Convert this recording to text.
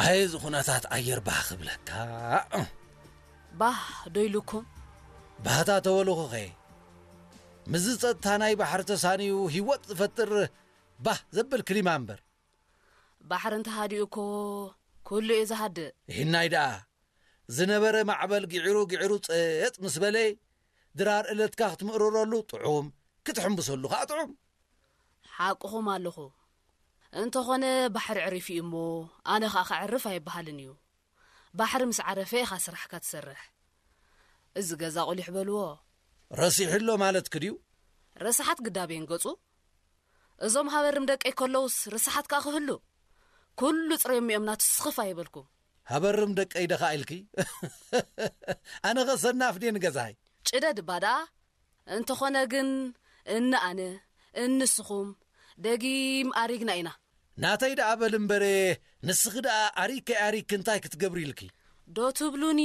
ኣየዚ ኩነታት ኣየር ባህ ክብለካ። ባህ ዶ ኢሉኩም? ባህታ ተበልኹኸ፣ ምስዚ ጸጥታ ናይ ባሕሪ ተሳንዩ ህይወት ዝፈጥር ባህ ዘብል ክሊማ እምበር። ባሕሪ እንተሃዲኡ እኮ ኩሉ እዩ ዝሃድእ። ይህናይ ደኣ ዝነበረ ማዕበል ግዒሩ ግዒሩ ጸጥ ምስ በለ፣ ድራር እለትካ ክትምእርረሉ ጥዑም፣ ክትሕምብሰሉ ከኣ ጥዑም። ሓቅኹም ኣለኹ። እንተኾነ ባሕሪ ዕሪፍ እዩ እሞ፣ ኣነ ኸኣ ከዕርፍ ኣይበሃልን እዩ። ባሕሪ ምስ ዓረፈ ኢኻ ስራሕካ ትሰርሕ። እዚ ገዛ ቁሊሕ በልዎ። ረሲሕሎ ማለትኪ ድዩ? ረሳሓት ግዳብ እየን ገጹ። እዞም ሃበርም ደቀይ ከለውስ ረሳሓት ከኣ ክህሉ? ኩሉ ጽረዮም እዮም ናቱ ስኽፍ ኣይበልኩም። ሃበርም ደቀይ ደኻ ኢልኪ? ኣነ ኸ ሰናፍ ድየ ንገዛይ? ጭደ ድባ ደኣ። እንተኾነ ግን እኒ ኣነ፣ እንስኹም ደጊም ኣሪግና ኢና። ናተይ ደኣ በል እምበረ፣ ንስኺ ደኣ ኣሪከይ ኣሪክ እንታይ ክትገብሪ ኢልኪ? ዶ ትብሉኒ?